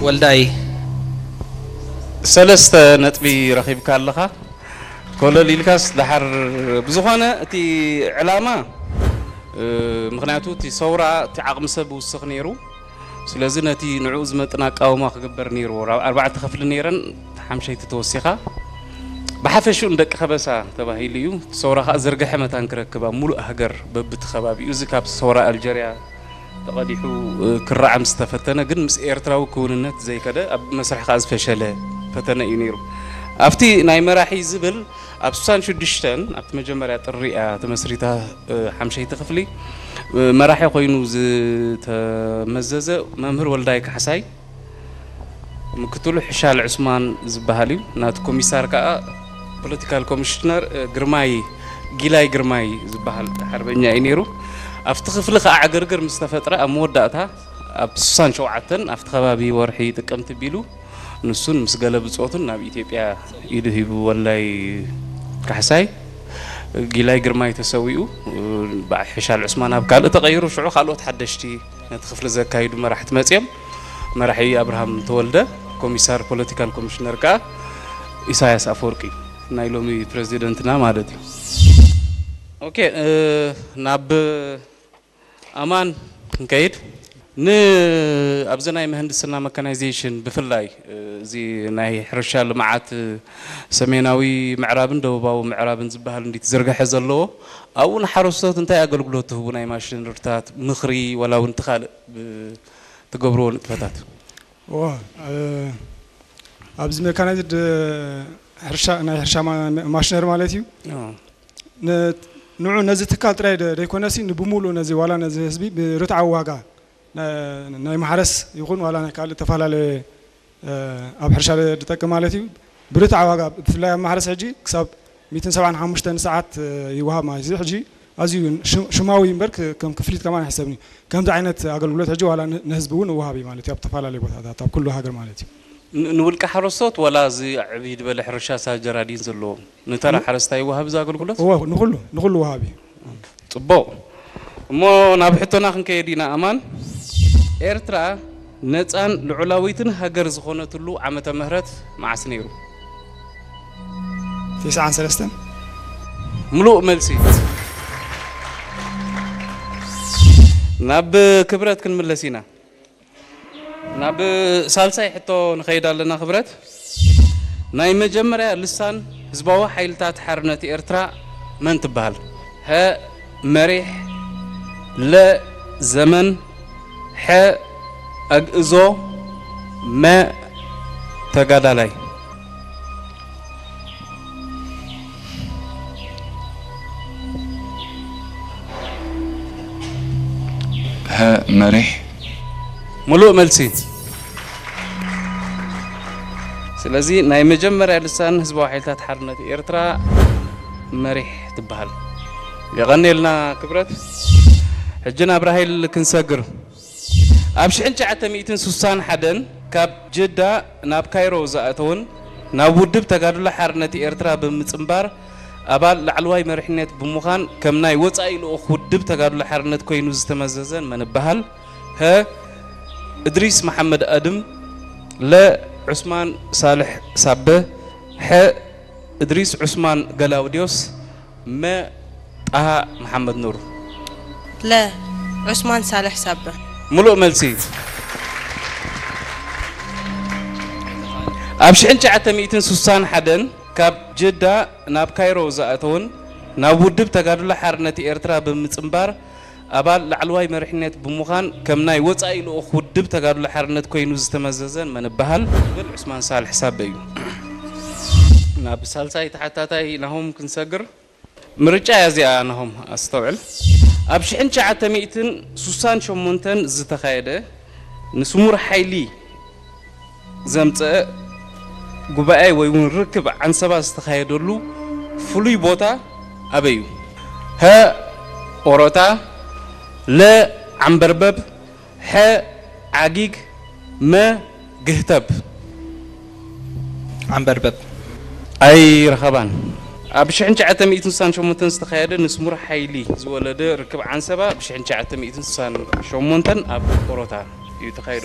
ወልዳይ፣ ሰለስተ ነጥቢ ረኺብካ ኣለኻ። ኮለል ኢልካስ ደሓር። ብዝኾነ እቲ ዕላማ፣ እ፣ ምኽንያቱ እቲ ሰውራ እቲ ዓቕሚ ሰብ ውስኽ ነይሩ። ስለዚ ነቲ ንዕኡ ዝመጥን ኣቃውማ ክግበር ነይርዎ። ራ-፣ ኣርባዕተ ክፍሊ ነይረን፣ ሓምሸይቲ ተወሲኻ። ብሓፈሽኡ ንደቂ ከበሳ ተባሂሉ እዩ። እቲ ሰውራ ከኣ ዘርግሐ መታን ክረክብ ኣብ ሙሉእ ሃገር በብቲ ከባቢኡ፣ እዚ ካብ ሰውራ ኣልጀርያ ተቐዲሑ፣ እ፣ ክረዓም ዝተፈተነ፣ ግን ምስ ኤርትራዊ ክውንነት ዘይከደ፣ ኣብ መስርሕ ከኣ ዝፈሸለ ፈተነ እዩ ነይሩ። ኣብቲ ናይ መራሒ ዝብል ኣብ ስሳን ሽዱሽተን ኣብቲ መጀመርያ ጥሪ እያ ተመስሪታ፣ እ፣ ሓምሸይቲ ክፍሊ፣ እ፣ መራሒ ኮይኑ ዝተመዘዘ መምህር ወልዳይ ካሕሳይ፣ ምክትሉ ሕሻል ዑስማን ዝበሃል እዩ። ናቲ ኮሚሳር ከኣ ፖለቲካል ኮሚሽነር፣ እ፣ ግርማይ፣ ጊላይ ግርማይ ዝበሃል ሓርበኛ እዩ ነይሩ። ኣብቲ ክፍሊ ከኣ ዕግርግር ምስ ተፈጥረ ኣብ መወዳእታ ኣብ ስሳን ሸውዓተን ኣብቲ ከባቢ ወርሒ ጥቅምቲ ቢሉ ንሱን ምስ ገለ ብጾቱን ናብ ኢትዮጵያ ኢዱ ሂቡ ወልዳይ ካሕሳይ። ጊላይ ግርማይ ተሰዊኡ፣ እ፣ በዓ-፣ ሕሻል ዑስማን ኣብ ካልእ ተቐይሩ፣ ሽዑ ካልኦት ሓደሽቲ ነቲ ክፍሊ ዘካይዱ መራሕቲ መጺኦም። መራሒ ኣብርሃም ተወልደ፣ ኮሚሳር ፖለቲካል ኮሚሽነር ከኣ ኢሳያስ ኣፈወርቂ፣ ናይ ሎሚ ፕረዚደንትና ማለት እዩ። ኦኬ፣ እ፣ ናብ ኣማን ክንከይድ፣ ን-፣ ኣብዚ ናይ ምህንድስና መካናይዜሽን ብፍላይ፣ እ፣ እዚ ናይ ሕርሻ ልምዓት፣ እ፣ ሰሜናዊ ምዕራብን ደቡባዊ ምዕራብን ዝበሃል እንዲ ትዝርግሐ ዘለዎ፣ ኣብኡ ንሓረስቶት እንታይ ኣገልግሎት ትህቡ? ናይ ማሽነሪታት ምኽሪ፣ ዋላ እውን እቲ ካልእ ብ-፣ ትገብርዎ ንጥፈታት? እወ፣ እ፣ ኣብዚ መካናይዝድ ሕርሻ፣ ናይ ሕርሻ ማ-፣ ማሽነሪ ማለት እዩ። ኦ። ን-፣ ንዑ ነዚ ትካል ጥራይ ደ-፣ ደይኮነሲ ንብሙሉእ ነዚ ዋላ ነዚ ህዝቢ ብርትዓዊ ዋጋ ና-፣ ናይ ማሕረስ ይኹን ዋላ ናይ ካልእ ተፈላለየ፣ እ፣ ኣብ ሕርሻ ደ-፣ ዝጠቅም ማለት እዩ። ብርትዓዊ ዋጋ ብፍላይ ኣብ ማሕረስ ሕጂ ክሳብ ሚእትን ሰብዓን ሓሙሽተን ሰዓት፣ እ፣ ይወሃብ ማለት እዩ። ሕጂ ኣዝዩ ሽ-፣ ሽማዊ እምበር ክ-፣ ከም ክፍሊት ከማን ኣይሕሰብን እዩ። ከምዚ ዓይነት ኣገልግሎት ሕጂ ዋላ ን-፣ ንህዝቢ እውን ይወሃብ እዩ ማለት እዩ። ኣብ ዝተፈላለዩ ቦታታት ኣብ ኩሉ ሃገር ማለት እዩ። ን-፣ ንውልቀ ሓረስቶት ዋላ እዚ ዕብይ ዝበለ ሕርሻ ሳጀራዲን ዘለዎም ንተራ ን-፣ ሓረስታይ ይወሃብ እዚ ኣገልግሎት? እወ፣ ንኹሉ፣ ንኹሉ ወሃቢ። ጽቡቕ። እሞ ናብ ሕቶና ክንከይድ ኢና ኣማን። ኤርትራ ነጻን ልዑላዊትን ሃገር ዝኾነትሉ ዓመተ ምህረት መዓስ ነይሩ? ትስዓን ሰለስተን። ምሉእ መልሲ። ናብ ክብረት ክንምለስ ኢና። ናብ ሳልሳይ ሕቶ ንኸይድ ኣለና ክብረት። ናይ መጀመርያ ልሳን ህዝባዊ ሓይልታት ሓርነት ኤርትራ መን ትበሃል? ሀ፣ መሪሕ፣ ለ፣ ዘመን፣ ሐ፣ ኣግእዞ፣ መ፣ ተጋዳላይ። ሀ፣ መሪሕ። ምሉእ መልሲ። ስለዚ ናይ መጀመርያ ልሳን ህዝባዊ ሓይልታት ሓርነት ኤርትራ መሪሕ ትበሃል። የቐንየልና ክብረት። ሕጂ ናብ ራሄል ክንሰግር። ኣብ ሽሕን ትሽዓተ ሚእትን ስሳን ሓደን ካብ ጅዳ ናብ ካይሮ ዝኣተወን ናብ ውድብ ተጋድሎ ሓርነት ኤርትራ ብምጽንባር ኣባል ላዕለዋይ መሪሕነት ብምዃን ከም ናይ ወጻኢ ልኡኽ ውድብ ተጋድሎ ሓርነት ኮይኑ ዝተመዘዘን መን ይበሃል? ሀ፣ እድሪስ መሓመድ ኣድም፣ ለ፣ ዑስማን ሳልሕ ሳበ፣ ሐ፣ እድሪስ ዑስማን ገላውዲዮስ፣ መ፣ ጣሃ መሓመድ ኑር። ለ፣ ዑስማን ሳልሕ ሳበ። ምሉእ መልሲ። ኣብ ሽሕን ትሽዓተ ሚእትን ስሳን ሓደን ካብ ጅዳ ናብ ካይሮ ዝኣተወን ናብ ውድብ ተጋድሎ ሓርነት ኤርትራ ብምጽንባር ኣባል ላዕለዋይ መሪሕነት ብምዃን ከም ናይ ወጻኢ ልኡኽ ውድብ ተጋድሎ ሓርነት ኮይኑ ዝተመዘዘን መን ይበሃል? ዝብል ዑስማን ሳልሕ ሳበ እዩ። ናብ ሳልሳይ ተሓታታይ ናሆም ክንሰግር። ምርጫ እያ እዚኣ ናሆም፣ ኣስተውዕል። ኣብ ሽሕን ትሽዓተ ሚእትን ስሳን ሸሞንተን ዝተኻየደ ንስሙር ሓይሊ ዘምጸአ ጉባኤ ወይ እውን ርክብ ዓንሰባ ዝተኻየደሉ ፍሉይ ቦታ ኣበይ እዩ? ሀ፣ ኦሮታ፣ ለ፣ ዓምበርበብ፣ ሐ፣ ዓጊግ፣ መ፣ ግህተብ። ዓምበርበብ። ኣይረኸባን። ኣብ ሽሕን ትሽዓተ ሚእትን ስሳን ሸሞንተን ዝተኻየደ ንስሙር ሓይሊ ዝወለደ ርክብ ዓንሰባ ብ ሽሕን ትሽዓተ ሚእትን ስሳን ሸሞንተን ኣብ ኦሮታ እዩ ተኻይዱ።